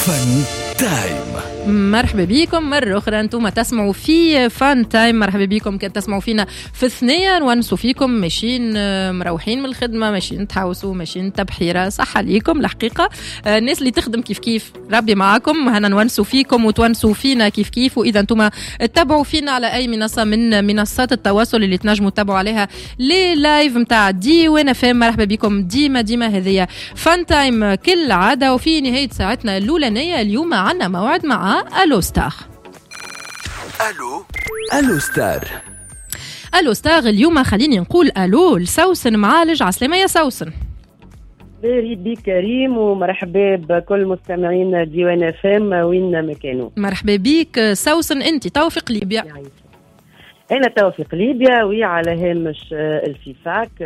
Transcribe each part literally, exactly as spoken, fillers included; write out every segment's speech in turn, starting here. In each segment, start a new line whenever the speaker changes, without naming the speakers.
Fun Time.
مرحبا بكم مرة أخرى، أنتم تسمعوا في Fun Time. مرحبا بكم كان تسمعوا فينا في الثنية، نونسوا فيكم ماشيين مروحين من الخدمة، ماشيين تحوسوا، ماشيين تبحيرة، صح عليكم الحقيقة. الناس اللي تخدم كيف كيف ربي معاكم، هنا نونسوا فيكم وتونسوا فينا كيف كيف. وإذا أنتم تتابعوا فينا على أي منصة من منصات التواصل اللي تنجموا تتابعوا عليها les lives نتاع ديوان اف ام، مرحبا بكم ديما ديما. هذه Fun Time كل عادة. وفي نهاية ساعتنا الأولانية اليوم عنا موعد مع الو ستار.
الو الو ستار.
الو ستار اليوم خليني نقول الو لسوسن معالج. عسلامة يا سوسن.
مرحبا بك كريم ومرحبا بكل مستمعين ديوان اف ام وين ما كانوا.
مرحبا بك سوسن، انت تو في قليبيا.
انا تو في قليبيا وعلى هامش ال FIFAK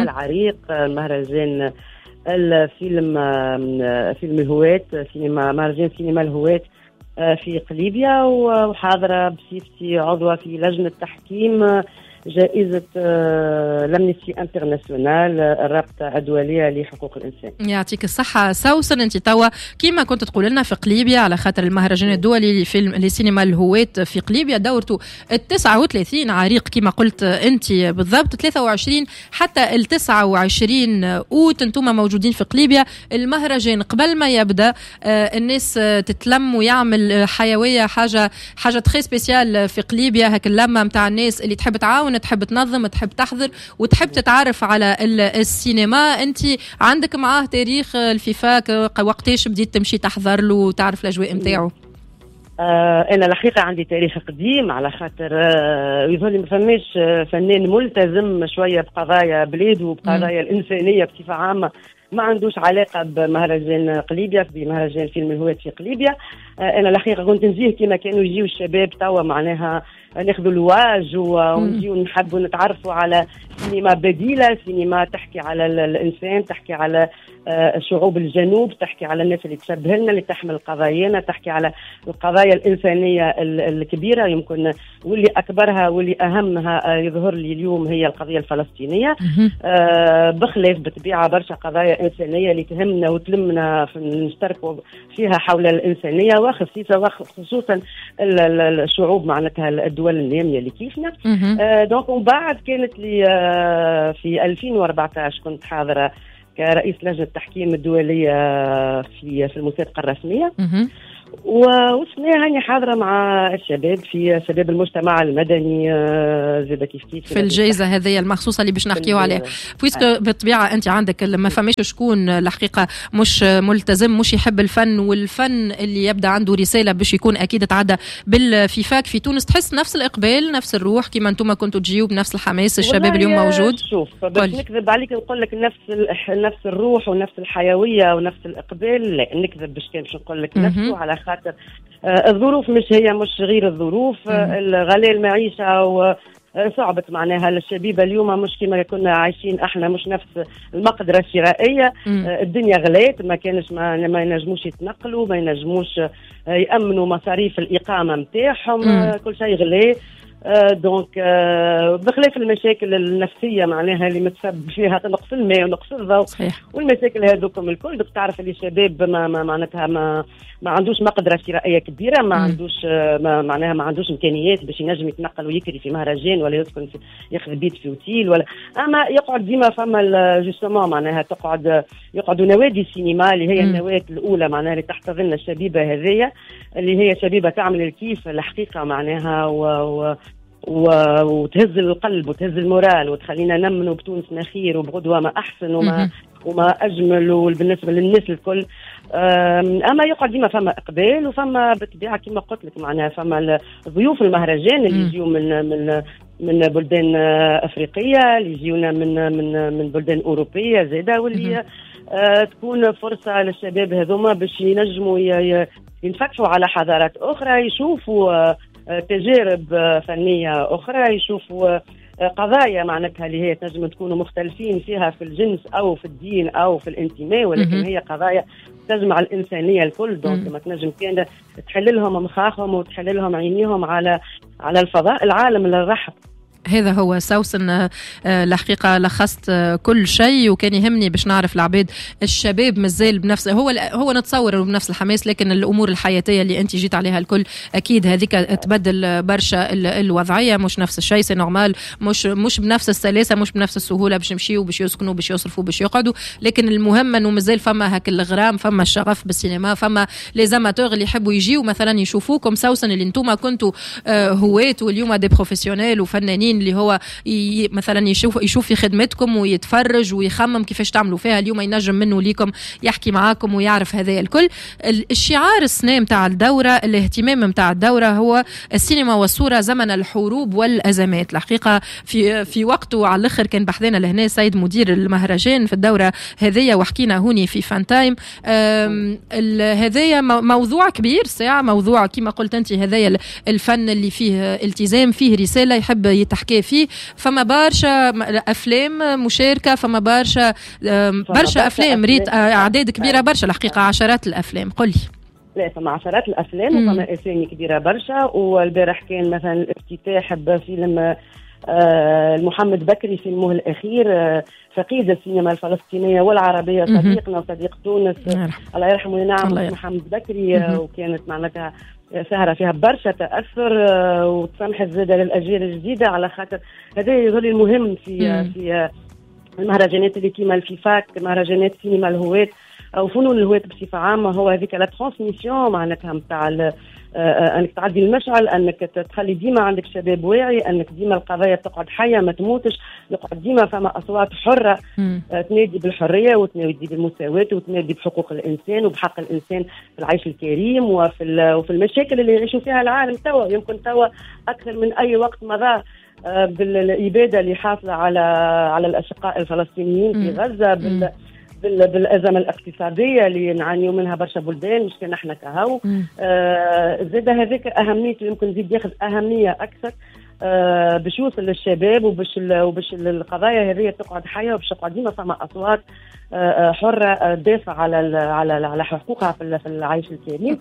العريق، مهرجان الفيلم، فيلم الهواة، سينما، مهرجان سينما الهواة في قليبيا، وحاضرة بصفتي عضوة في لجنة تحكيم جائزة l'Amnesty International، الرابطة الدولية لحقوق الإنسان.
يعطيك الصحة سوسن. أنت توا كيما كنت تقول لنا في قليبيا على خاطر المهرجان الدولي لفيلم لسينما الهواة في قليبيا دورته التسعة وثلاثين عريق كما قلت أنت بالضبط، ثلاثة وعشرين حتى التسعة وعشرين أوت أنتم موجودين في قليبيا. المهرجان قبل ما يبدأ الناس تتلم ويعمل حيوية، حاجة حاجة très spéciale في قليبيا، هاك اللمة متاع الناس اللي تحب تعاون، تحب تنظم، تحب تحضر وتحب تتعرف على السينما. انت عندك معاه تاريخ ال FIFAK، وقتاش بديت تمشي تحضر له وتعرف الاجواء نتاعو؟
آه انا الحقيقة عندي تاريخ قديم، على خاطر آه يظهر لي ما فماش فنان ملتزم شوية بقضايا بلاده وبقضايا الانسانية بصفة عامة ما عندوش علاقة بمهرجان قليبيا، بمهرجان فيلم الهواة في قليبيا. آه انا الحقيقة كنت نجيه كما كانوا يجيو الشباب توا، معناها ناخذوا الواج ونجيو نحبوا نتعرفوا على سينما بديله، سينما تحكي على الانسان، تحكي على شعوب الجنوب، تحكي على الناس اللي تشبه لنا، اللي تحمل قضايانا، تحكي على القضايا الانسانية الكبيرة يمكن، واللي اكبرها واللي اهمها يظهر لي اليوم هي القضية الفلسطينية. بخلاف بالطبيعة برشا قضايا انسانيه اللي تهمنا وتلمنا نشتركوا فيها حول الانسانية، وخصيصا وخصوصا الشعوب معناتها الدول النامية اللي كيفنا. آه donc ومن بعد كانت لي آه في ألفين وأربعة عشر كنت حاضره كرئيس لجنة التحكيم الدولية في في المسابقة الرسمية، وسنة هاني حاضره مع الشباب في شباب المجتمع المدني زاد كيف كيف
في الجائزة هذه المخصوصة اللي باش نحكيو عليها، puisque بالطبيعة انت عندك ما فماش شكون الحقيقة مش ملتزم، مش يحب الفن، والفن اللي يبدا عنده رسالة باش يكون اكيد تعدى بال FIFAK في تونس. تحس نفس الاقبال، نفس الروح كيما انتم كنتوا تجيو بنفس الحماس، الشباب اليوم موجود؟
شوف باش نكذب عليك نقول لك نفس نفس الروح ونفس الحيوية ونفس الاقبال، لا نكذب باش كان باش نقول لك نفسه، على خاطر الظروف مش هي مش غير الظروف، الغلاء المعيشة وصعبت معناها الشبيبة اليوم مش كما كنا عايشين احنا، مش نفس المقدرة الشرائية، الدنيا غلات، ما كانش ما, ما ينجموش يتنقلوا، ما ينجموش يأمنوا مصاريف الإقامة نتاعهم، كل شيء غلي. donc بخلاف المشاكل النفسية معناها اللي متسبب فيها نقص الماء ونقص الضوء والمشاكل هذوكم الكل. donc تعرف اللي الشباب ما, ما معناتها ما ما عندوش مقدره شرائية كبيرة، ما عندوش ما معناها ما عندوش امكانيات باش ينجم يتنقل ويكري في مهرجان ولا يسكن في ياخذ بيت في اوتيل ولا، اما يقعد ديما فما justement معناها تقعد يقعدوا نوادي السينما اللي هي النواة الاولى معناها اللي تحتضن الشبيبة هذيا اللي هي شبيبة تعمل الكيف الحقيقة معناها و, و وتهز القلب وتهز ال moral وتخلينا نمنوا بتونسنا خير وبغدوه ما احسن وما وما اجمل وبالنسبة للناس الكل. اما يقعد ديما فما اقبال وفما بالطبيعة كما قلت لك معناها فما ضيوف المهرجان اللي يجيو من من من بلدان افريقية، اللي يجيونا من من من بلدان اوروبية زاده، واللي آه تكون فرصة للشباب هذوما باش ينجموا ينفتحوا على حضارات اخرى، يشوفوا تجارب فنية أخرى، يشوفوا قضايا معناتها اللي هي تنجم تكونوا مختلفين فيها في الجنس أو في الدين أو في الانتماء، ولكن هي قضايا تجمع الإنسانية الكل. donc ما تنجم كان تحل لهم مخاخهم وتحل لهم عينيهم على على الفضاء العالم الرحب.
هذا هو سوسن، الحقيقة لخصت كل شيء، وكان يهمني باش نعرف العباد الشباب مازال بنفس هو هو نتصور بنفس الحماس، لكن الأمور الحياتية اللي أنت جيت عليها الكل أكيد هذيك تبدل برشا الوضعية، مش نفس الشيء، c'est normal، مش مش بنفس السلاسة، مش بنفس السهولة باش يمشيوا باش يسكنوا باش يصرفوا باش يقعدوا، لكن المهم أنه مازال فما هاك الغرام، فما الشغف بالسينما، فما les amateurs اللي يحبوا يجيوا مثلا يشوفوكم سوسن اللي انتم كنتوا هواة واليوم des professionnels وفنانين، اللي هو مثلا يشوف يشوف في خدمتكم ويتفرج ويخمم كيفاش تعملوا فيها، اليوم ينجم منه ليكم يحكي معاكم ويعرف هذا الكل. الشعار السنة متاع الدورة، الاهتمام متاع الدورة هو السينما والصورة زمن الحروب والأزمات. الحقيقة في في وقته على الآخر كان بحذانا لهنا سيد مدير المهرجان في الدورة هذية، وحكينا هوني في فان تايم. هذايا موضوع كبير ساعة، موضوع كما قلت أنت هذايا الفن اللي فيه التزام، فيه رسالة يحب يتحكي فيه، فما برشا أفلام مشاركة، فما برشا برشا أفلام، ريت أعداد كبيرة برشا الحقيقة، عشرات الأفلام. قولي.
لا فما عشرات الأفلام وفما أسامي كبيرة برشا، والبارح كان مثلا الافتتاح بفيلم آه محمد بكري فيلمه الأخير، آه فقيد السينما الفلسطينية والعربية، صديقنا وصديق تونس الله يرحمه وينعم محمد بكري، آه وكانت معناتها سهرة فيها برشا تأثر، آه وتسمح زادة للأجيال الجديدة، على خاطر هذا يظل المهم في في المهرجانات اللي كيما الفيفاك، مهرجانات سينما الهواة أو فنون الهواة بصفة عامة، هو هذيك la transmission معناتها نتاع انك تعدي المشعل، انك تخلي ديما عندك شباب واعي، انك ديما القضايا تقعد حيه ما تموتش، يقعد ديما فما اصوات حره تنادي بالحرية وتنادي بالمساواة وتنادي بحقوق الانسان وبحق الانسان في العيش الكريم وفي وفي المشاكل اللي يعيشوا فيها العالم توا، يمكن توا اكثر من اي وقت مضى بالاباده اللي حاصله على على الاشقاء الفلسطينيين في غزة، بال بالأزمة الاقتصادية اللي نعانيو منها برشا بلدان، مش كان احنا كهو. آه زاد هذاك أهميته، يمكن زيد ياخذ أهمية أكثر آه باش يوصل للشباب وباش وباش القضايا هذه تقعد حية، وباش تقعد ديما فما أصوات آه حرة تدافع على على على حقوقها في العيش الكريم.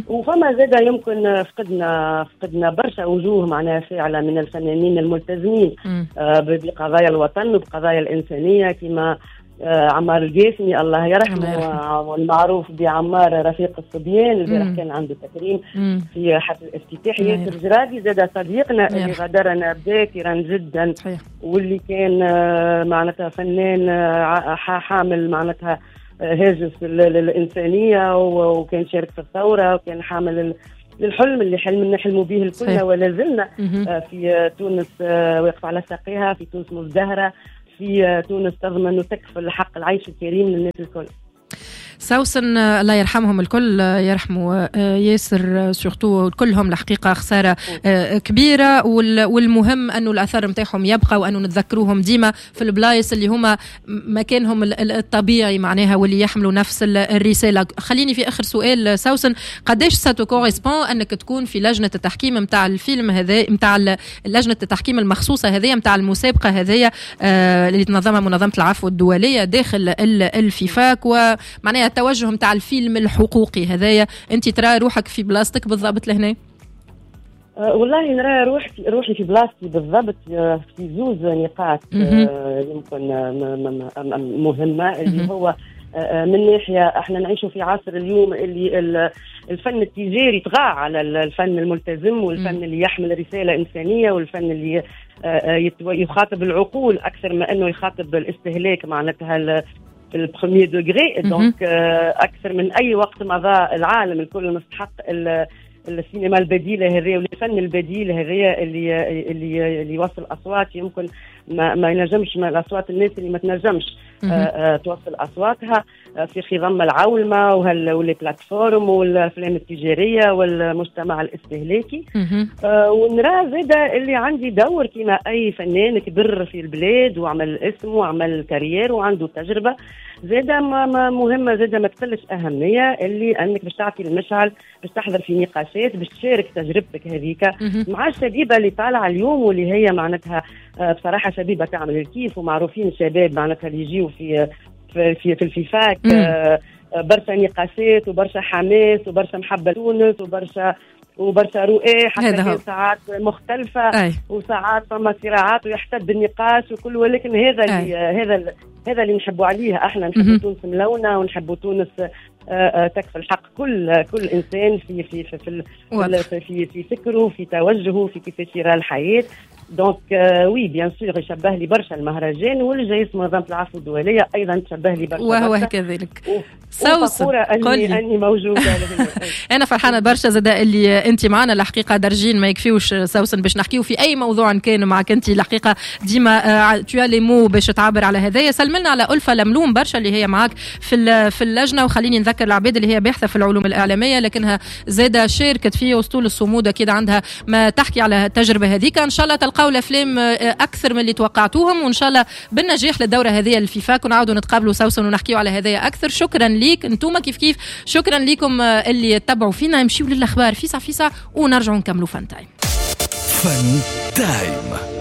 وفما زاد يمكن فقدنا فقدنا برشا وجوه معناها فاعلة من الفنانين الملتزمين آه بقضايا الوطن وبقضايا الإنسانية، كما عمار القاسمي الله يرحمه، والمعروف بعمار رفيق الصبيان، البارح كان عنده تكريم مم. في حفل الافتتاح. ياسر جرادي زاد صديقنا اللي غادرنا باكرا جدا، صحيح. واللي كان معناتها فنان حامل معناتها هاجس للإنسانية، وكان شارك في الثورة، وكان حامل للحلم اللي حلم نحلموا به الكل ولا زلنا في تونس واقف على ساقيها، في تونس مزدهرة، في تونس تضمن وتكفل حق العيش الكريم للناس الكل.
سوسن الله يرحمهم الكل، يرحموا ياسر surtout، كلهم الحقيقة خسارة كبيرة، والمهم أنه الأثر متاعهم يبقى، وأنه نتذكروهم ديما في البلايص اللي هما مكانهم الطبيعي معناها، واللي يحملوا نفس الرسالة. خليني في آخر سؤال سوسن، قداش ça te correspond أنك تكون في لجنة التحكيم متاع الفيلم هذا، متاع لجنة التحكيم المخصوصة هذه، متاع المسابقة هذه اللي تنظمها منظمة العفو الدولية داخل الفيفاك، ومعناها التوجه متاع الفيلم الحقوقي هذايا، انت ترى روحك في بلاصتك بالضبط لهنا؟
أه والله نرى روحي روحي في بلاصتي بالضبط في زوز نقاط يمكن مهمة، اللي هو من ناحية احنا نعيش في عصر اليوم اللي الفن التجاري طغى على الفن الملتزم، والفن اللي يحمل رسالة إنسانية، والفن اللي يخاطب العقول أكثر ما أنه يخاطب الاستهلاك معناتها ال premier degré. donc اكثر من اي وقت مضى العالم الكل مستحق السينما البديلة هذه والفن البديل هذه اللي اللي اللي يوصل اصوات يمكن ما, ما ينجمش، ما الاصوات الناس اللي ما تنجمش آه توصل اصواتها في خضم العولمة وهال les plateformes والافلام التجارية والمجتمع الاستهلاكي. آه ونرى زاده اللي عندي دور كما اي فنان كبر في البلاد وعمل اسم وعمل carrière وعنده تجربه زاده ما مهمة زاده ما تقلش اهمية، اللي انك باش تعطي المشعل، باش تحضر في نقاشات، باش تشارك تجربتك هذيك مع الشبيبة اللي طالعه اليوم، واللي هي معناتها بصراحة شبيبة تعمل الكيف، ومعروفين الشباب معناتها اللي يجيو في في في, في الفيفاك، برشا نقاشات وبرشا حماس وبرشا محبة تونس وبرشا وبرشا رؤى، حتى كان ساعات مختلفة أي. وساعات فما صراعات ويحتد النقاش وكل، ولكن هذا اللي هذا هذا اللي نحبوا عليه احنا، نحبوا تونس ملونة ونحبوا تونس تكفل حق كل كل انسان في في في في في, في, في فكرة، في توجهه، في كيفاش يرى الحياة. donc oui bien sûr يشبه لي برشا المهرجان، والجايز منظمة العفو الدولية ايضا تشبه لي برشا،
وهو كذلك. سوسن
اني اني موجودة.
انا فرحانة برشا زاده اللي انت معنا. الحقيقة درجين ما يكفيوش سوسن باش نحكيو في اي موضوع كان معك انت، الحقيقة ديما tu as les mots باش تعبر على هذايا. سلملنا على الفه لملوم برشا اللي هي معك في في اللجنه، وخليني نذكر العباد اللي هي باحثه في العلوم الاعلامية لكنها زاده شاركت في اسطول الصمود، اكيد عندها ما تحكي على التجربة هذيك. ان شاء الله تلقاو الافلام اكثر من اللي توقعتوهم، وان شاء الله بالنجاح للدورة هذه الفيفاك، ونعاودوا نتقابلوا سوسن ونحكيو على هذايا اكثر. شكرا ليك انتم كيف كيف، شكرا لكم اللي تبعوا فينا. نمشيو للاخبار فيسع فيسع ونرجعوا نكملوا فان تايم.
فان تايم.